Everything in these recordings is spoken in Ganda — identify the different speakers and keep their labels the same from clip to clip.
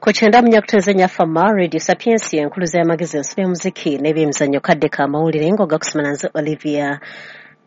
Speaker 1: Ku kyenda munyakuteeze Nyafama Radio Sapiensia, enkuluza y'amagezi, ensi y'omuziki n'ebyemizannyo. Kadde ka mawulire ng'ogakusoma nze Olivia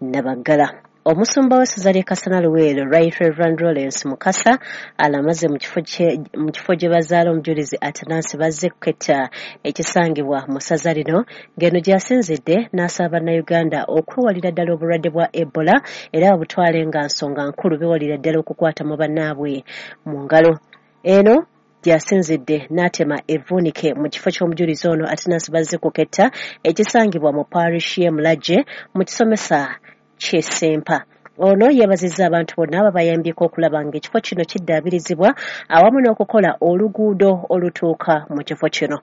Speaker 1: Nabaggala. Omusumba w'essaza ly'e Kasana Luweero, Right Reverend Lawrence Mukasa, alamaze mu kifo gye bazaala omujulizi Atanasi Bazzekuketta ekisangibwa mu ssaza lino, ng'eno gy'asinzidde n'asaba Bannayuganda okwewalira ddala obulwadde bwa Ebola era babutwale nga nsonga nkulu, beewalira ddala okukwata mu bannaabwe mu ngalo. Eno gy'asinzidde n'atema evvuunike mu kifo ky'omujulizi ono Atanasi Bazzekuketta ekisangibwa mu parish y'e Mulajje mu kisomesa ky'e Ssempa. Ono yeebazizza abantu bonna ababayambyeko okulaba ng'ekifo kino kiddaabirizibwa awamu n'okukola oluguudo olutuuka mu kifo kino.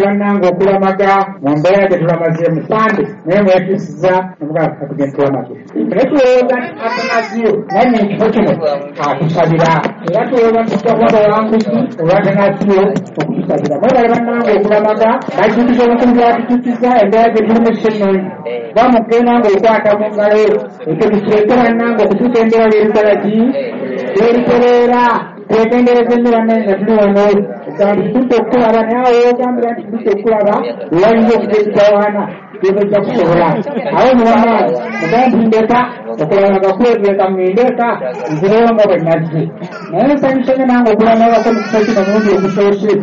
Speaker 2: Bannange, okulamaga mu mbeera gye tulamaze musande, naye mwetusiza tugenda tulamage, naye tulowooza nti Atanasiyo naye ekifo kino atusabira, era tulowooza nti tujja kuba bawanguzi olw'Atanasiyo okutusabira. Mwebale bannange okulamaga, bajjukiza obukulu bwatujukiza embeera gye tulimu si nnungi, kuba mugenda ng'okwata mu ngalo ekyo tukireete. Bannange, okutuusa embeera lw'ebitalagi lw'ebitereera, twegendereza ennyo bannange nga tuli wano. Ogamba nti tudde okukulaba, naye awo ogambira nti tudde okukulaba wayinza okuva ekitawaana tojja kusobola. Awo muwamaanyi mugambe nti ndeka okulamaga kwetuleka, ŋŋende eka nzireyo nga bwe nazze. Naye nsanyuse nnyo nange okulamagako mu kifo kino omulundi ogusoose.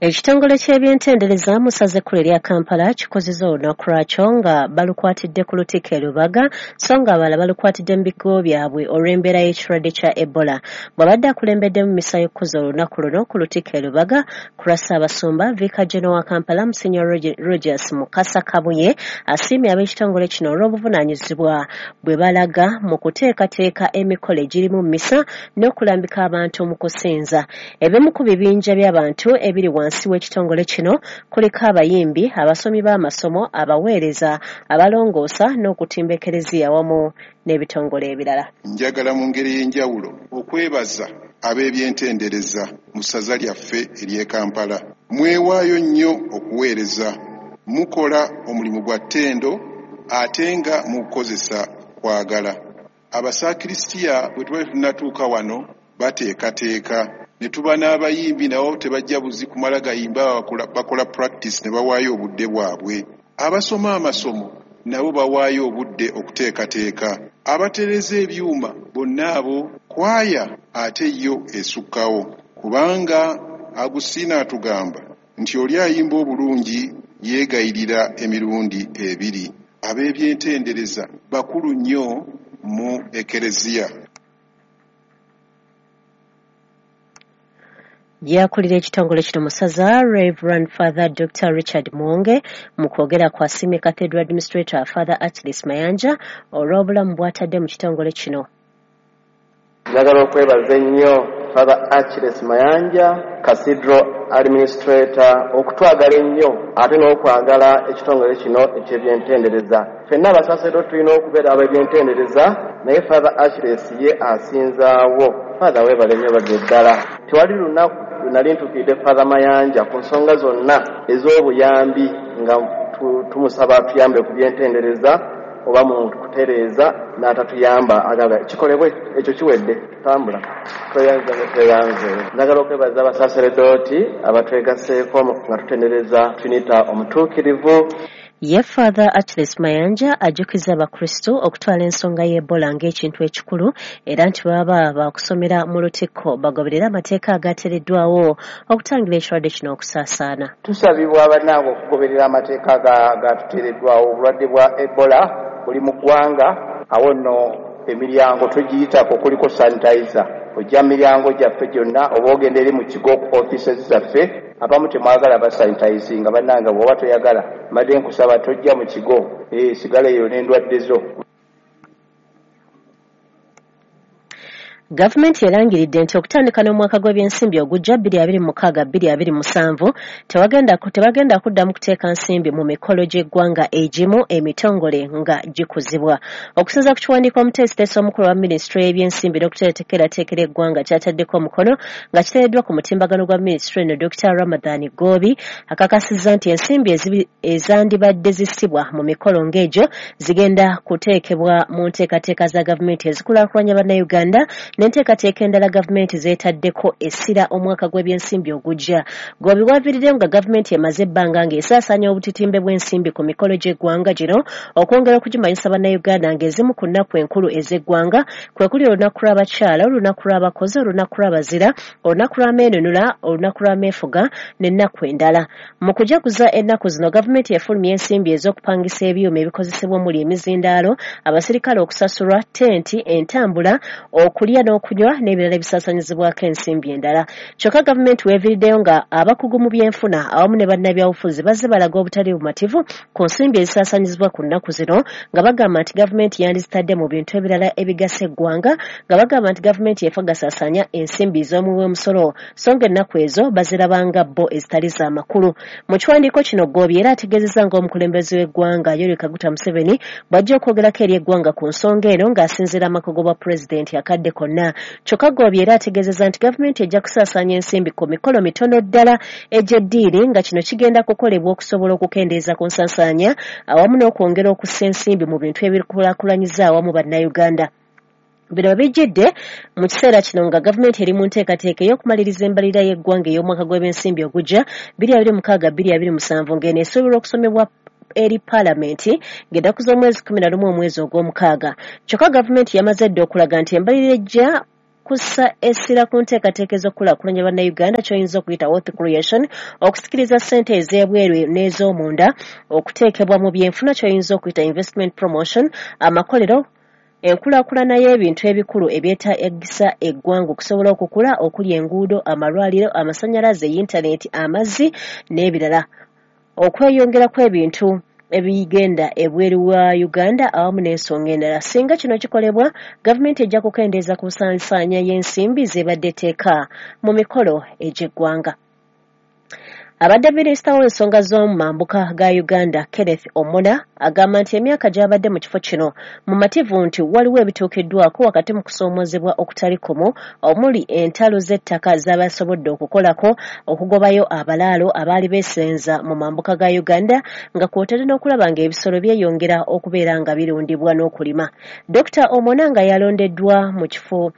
Speaker 1: Ekitongole ky'ebyentendereza mu ssaza ekkulu erya Kampala kikozeza olunaku lwakyo nga balukwatidde ku Lutikko e Lubaga, so nga abalala balukwatidde mu bigo byabwe olw'embeera y'ekirwadde kya Ebola. Bw'abadde akulembeddemu misa y'okukuza olunaku luno ku Lutikko e Lubaga ku lwa Ssaabasumba, Vicar General wa Kampala Monsignor Rogers Mukasa Kabuye asiimye ab'ekitongole kino olw'obuvunaanyizibwa bwe balaga mu kuteekateeka emikolo egirimu misa n'okulambika abantu mu kusinza. Ebimu ku bibinja by'abantu ebiri wansi w'ekitongole kino kuliko abayimbi, abasomi b'amasomo, abaweereza, abalongoosa n'okutimba ekereziya wamu n'ebitongole ebirala.
Speaker 3: Njagala mu ngeri ey'enjawulo okwebaza ab'ebyentendereza mu ssaza lyaffe ery'e Kampala. Mwewaayo nnyo okuweereza, mukola omulimu gwa ttendo ate nga mugukozesa kwagala. Abasakirisitiya bwe tuba tetunnatuuka wano bateekateeka, ne tuba n'abayimbi nabo tebajja buzi kumala gayimba, bakola practice ne bawaayo obudde bwabwe. Abasoma amasomo nabo bawaayo obudde okuteekateeka, abatereza ebyuma bonna abo, kwaya ate yo esukkawo, kubanga Agusiina atugamba nti oli ayimba obulungi yeegayirira emirundi ebiri. Ab'ebyentendereza bakulu nnyo mu ekereziya.
Speaker 1: Yakulira ekitongole kino mu ssaza, Reverend Father Dr Richard Mwonge, mu kwogera kwasiimye Cathedral Administrator Father Achilles Mayanja olw'obulamu bw'atadde mu kitongole kino.
Speaker 4: Njagala okwebaza ennyo Father Achilles Mayanja, Cathedral Administrator, okutwagala ennyo ate n'okwagala ekitongole kino eky'ebyentendereza. Ffenna abasaseredo tulina okubeera ab'ebyentendereza, naye Father Achilles ye asinzaawo. Father, weebale nnyo badde ddala. Tewali lunaku lwe nali ntuukiridde Father Mayanja ku nsonga zonna ez'obuyambi nga tumusaba tuyambe ku byentendereza oba mu kutereeza n'atatuyamba, agamba kikolebwe, ekyo kiwedde, tambula. Tweyanze nga tweyanze. Njagala okwebaza abasaseredooti abatwegaseeko nga tutendereza Trinita omutuukirivu.
Speaker 1: Ye Father Achilles Mayanja ajjukiza Abakristu okutwala ensonga y'Ebola ng'ekintu ekikulu, era nti baba bakusomera mu Lutikko bagoberere amateeka agateereddwawo okutangira ekirwadde kino okusaasaana.
Speaker 5: Tusabibwa bannange okugoberera amateeka gatuteereddwawo. Obulwadde bwa Ebola buli mu ggwanga. Awo nno emiryango tugiyitako, kuliko sanitizer, ojja mu miryango gyaffe gyonna oba ogenda eri mu kigo ku offices zaffe. Abamu temwagala basanitizinga. Bannange, bw'oba toyagala, mbadde nkusaba tojja mu kigo, sigala eyo n'endwadde zo.
Speaker 1: Gavumenti erangiridde nti okutandika n'omwaka gw'ebyensimbi ogujja 2026 2027 tebagenda kuddamu kuteeka nsimbi mu mikolo gy'eggwanga egimu emitongole nga gikuzibwa. Okusinziira ku kiwandiiko omuteesiteesi omukulu wa minisitule y'ebyensimbi n'okuteekerateekera eggwanga kyataddeko omukono nga kiteereddwa ku mutimbagano gwa minisitule eno, Dr Ramadhan Ggoobi akakasizza nti ensimbi ezandibadde zissibwa mu mikolo ng'egyo zigenda kuteekebwa mu nteekateeka za gavumenti ezikulaakulanya Bannayuganda. n'enteekateeka endala gavumenti zeetaddeko essira omwaka gw'ebyensimbi ogujja. Ggoobi waaviiriddeyo nga gavumenti emaze ebbanga ng'esaasaanya obutitimbe bw'ensimbi ku mikolo gy'eggwanga gino okwongera okugimanyisa Bannayuganda ng'ezimu ku nnaku enkulu ez'eggwanga kwe kuli olunaku lw'abakyala, olunaku lw'abakozi, olunaku lw'abazira, olunaku lw'ameenunula, olunaku lw'ameefuga n'ennaku endala. Mu kujaguza ennaku zino gavumenti efulumya ensimbi ez'okupangisa ebyuma ebikozesebwa omuli emizindaalo, abasirikale okusasulwa, tenti, entambula, okulya n'okunywa n'ebirala ebisaasaanyizibwako ensimbi endala. Kyokka gavumenti weeviiriddeyo nga abakugu mu byenfuna awamu ne bannabyabufuzi bazze balaga obutali bumativu ku nsimbi ezisaasaanyizibwa ku nnaku zino nga bagamba nti gavumenti yandizitadde mu bintu ebirala ebigasa eggwanga, nga bagamba nti gavumenti efa gasaasaanya ensimbi z'omuwi w'omusolo so ng'ennaku ezo bazirabanga bo ezitali za makulu. Mu kiwandiiko kino Ggoobi era ategeezezza ng'omukulembeze w'eggwanga Yoweri Kaguta Museveni bw'ajja okwogerako eri eggwanga ku nsonga eno ng'asinziira amakugo bwa pulezidenti akadde konna. Kyokka Ggoobi era ategeezezza nti gavumenti ejja kusaasaanya ensimbi ku mikolo mitono ddala egy'eddiini nga kino kigenda kukolebwa okusobola okukendeeza ku nsaasaanya awamu n'okwongera okussa ensimbi mu bintu ebikulaakulanyiza awamu Bannayuganda. Bino bijjidde mu kiseera kino nga gavumenti eri mu nteekateeka ey'okumaliriza embalirira y'eggwanga ey'omwaka gw'ebyensimbi ogujja 2026-2027 ng'eno esuubirwa okusomebwa eri paalamenti ng'ennaku z'omwezi 11 omwezi ogw'omukaaga. Kyokka gavumenti yamaze dda okulaga nti embalirira ejja kussa essira ku nteekateeka ez'okukulaakulanya Bannayuganda ky'oyinza okuyita wealth creation, okusikiriza ssente ez'ebweru n'ez'omunda, okuteekebwa mu byenfuna ky'oyinza okuyita investment promotion, amakolero, enkulaakulana y'ebintu ebikulu ebyetaagisa eggwanga okusobola okukula okuli enguudo, amalwaliro, amasannyalaze, yintaneeti, amazzi n'ebirala, okweyongera kw'ebintu ebigenda ebweru wa Uganda awamu n'ensonga endala. Singa kino kikolebwa, gavumenti ejja kukendeeza ku nsaasaanya y'ensimbi z'ebadde etteeka mu mikolo egy'eggwanga. Abadde minisita w'ensonga z'omu mambuka ga Uganda Kenneth Omona agamba nti emyaka gy'abadde mu kifo kino mumativu nti waliwo ebituukiddwako wakati mu kusoomoozebwa okutali kumu omuli entalo z'ettaka z'abasobodde okukolako, okugobayo abalaalo abaali beesenza mu mambuka ga Uganda nga kw'otadde n'okulaba ng'ebisolo byeyongera okubeera nga birundibwa n'okulima. Dr. Omona nga yalondeddwa mu kifo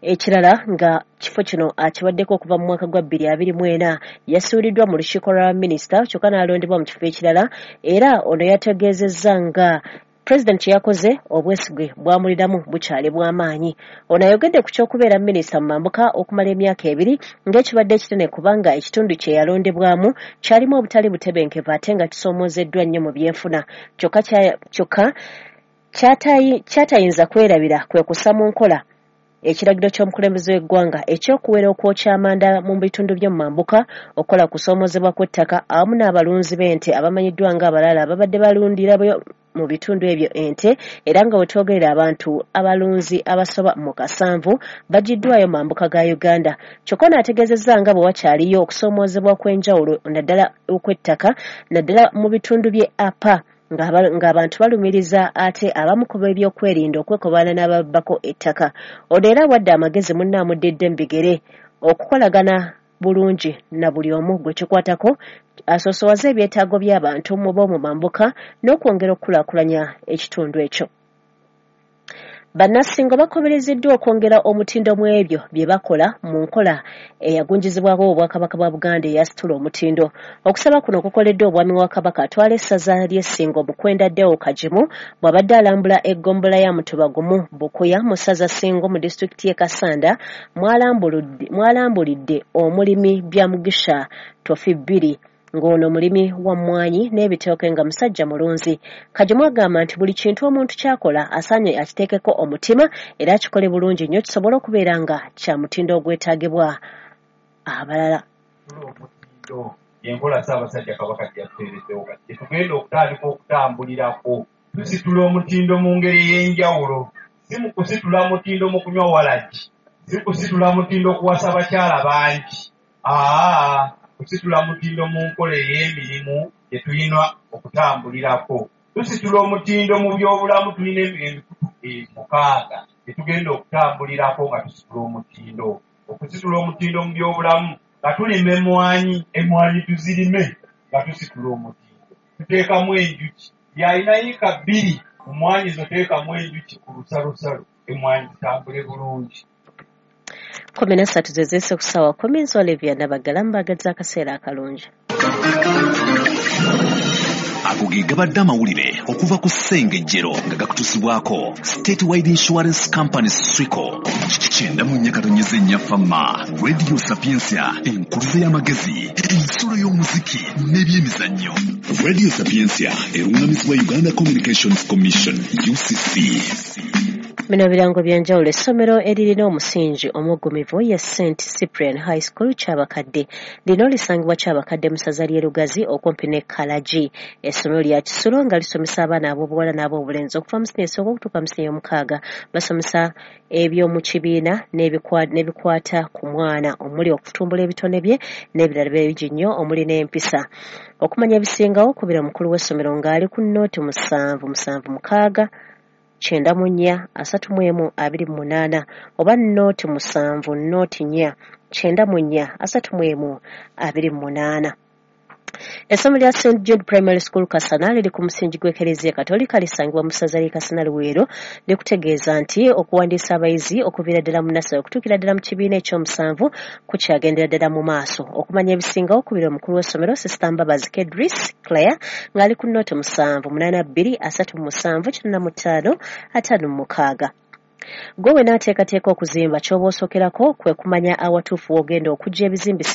Speaker 1: ekirala nga kifo kino akibaddeko okuva mu mwaka gwa 2024 yasuuliddwa mu lukiiko lwa minisita kyokka n'alondebwa mu kifo ekirala, era ono yategeezezza nga pulezidenti kye yakoze obwesigwe bwamuliramu bukyali bw'amaanyi. Ono ayogedde ku ky'okubeera minisita mu mambuka okumala emyaka 2 ng'ekibadde ekinene kubanga ekitundu kye yalondebwamu kyalimu obutali butebenkevu ate nga kisoomoozeddwa nnyo mu byenfuna. Kyokka kyatayinza kwerabira kwe kussa mu nkola ekiragiro ky'omukulembeze w'eggwanga eky'okuwera okwokya amanda mu bitundu by'omu mambuka, okukola kusoomoozebwa kw'ettaka awamu n'abalunzi b'ente abamanyiddwa ng'abalala ababadde balundira mu bitundu ebyo ente, era nga we twogerera abantu abalunzi abasoba mu 7 bagiddwayo mu mambuka ga Uganda. Kyokka ono ategeezezza nga bwe wakyaliyo okusoomoozebwa kw'enjawulo naddala okw'ettaka naddala mu bitundu by'e Apa ng'abantu balumiriza ate abamu ku b'ebyokwerinda okwekobaana n'ababbako ettaka. Ono era awadde amagezi munne amuddidde mu bigere okukolagana bulungi na buli omu gwe kikwatako, asoosowaze ebyetaago by'abantu mu b'omu mambuka n'okwongera okukulaakulanya ekitundu ekyo. Bannasingo bakubiriziddwa okwongera omutindo mu ebyo bye bakola mu nkola eyagunjizibwako Obwakabaka bwa Buganda eyasitula omutindo. Okusaba kuno kukoleddwa Omwami wa Kabaka atwala essaza ly'Essingo Mukwenda Deo Kagimu bw'abadde alambula eggombolola ya Mutuba Gumu Bukuya mu ssaza Ssingo mu disitulikiti y'e Kassanda, mwalambulidde omulimi Byamugisha Tofi 2 ng'ono mulimi wa mmwanyi n'ebitooke nga musajja mulunzi. Kagimu agamba nti buli kintu omuntu ky'akola asaanye akiteekeko omutima era akikole bulungi nnyo kisobole okubeera nga kya mutindo ogwetaagibwa abalala.
Speaker 6: Omutindo enkola Ssaabasajja Kabaka gye yatuteereddewo kati gye tugenda okutandika okutambulirako. Tusitula omutindo mu ngeri ey'enjawulo, si mu kusitula mutindo mu kunywa walagi, si kusitula mutindo kuwasa bakyala bangi, kusitula mutindo mu nkola ey'emirimu gye tulina okutambulirako. Tusitula omutindo mu byobulamu, tulina emikutu 6 gye tugenda okutambulirako nga tusitula omutindo. Okusitula omutindo mu byobulamu nga tulima emmwanyi, emmwanyi tuzirime nga tusitula omutindo. Tuteekamu enjuki, yalina yiika 2 mu mmwanyi zo teekamu enjuki ku lusalosalo, emmwanyi zitambule bulungi.
Speaker 1: 13 ze ziise ku ssaawa 10. Nze Olivia Nabaggala, mbaagaliza akaseera akalungi.
Speaker 7: Ago ge gabadde amawulire okuva ku Ssengejjero nga gakutusibwako State Wide Insurance Company Swico. 94.4 Fama Radio Sapientia, enkuluze y'amagezi, ensulo y'omuziki n'ebyemizannyo. Radio Sapientia erungamizibwa Uganda Communications Commission, UCC.
Speaker 1: Bino birango bya njawulo. Essomero eririna omusingi omuggumivu ye St Cyprian High School Kyabakadde. Lino lisangibwa Kyabakadde mu ssaza ly'e Lugazi okumpi ne Kalagi. Essomero lya kisulo nga lisomesa abaana ab'obuwala n'ab'obulenzi okuva mu siniya esooka okutuuka mu siniya ey'omukaaga. Basomesa eby'omu kibiina n'ebikwata ku mwana omuli okutumbula ebitone bye n'ebirala bingi nnyo omuli n'empisa. Okumanya ebisingawo kubira omukulu w'essomero ng'ali ku 0 7 7 6 94 31 28 oba 0 7 0 4 94 31 28. Essomero lya St Jude Primary School Kasana liri ku musingi gw'Ekereziya Katolika, lisangibwa mu ssaza ly'e Kasana Luweero. Likutegeeza nti okuwandiisa abayizi okuviira ddala mu nursery okutuukira ddala mu kibiina ekyomusanvu kukyagendera ddala mu maaso. Okumanya ebisingawo kubira omukulu w'essomero Sister Mbabazi Kedris Claire ng'ali ku 0 7 8 2 37 85 56. Gwe wenaateekateeka okuzimba, ky'oba osookerako kwe kumanya awatuufu w'ogenda okuggya ebizimbisibwa.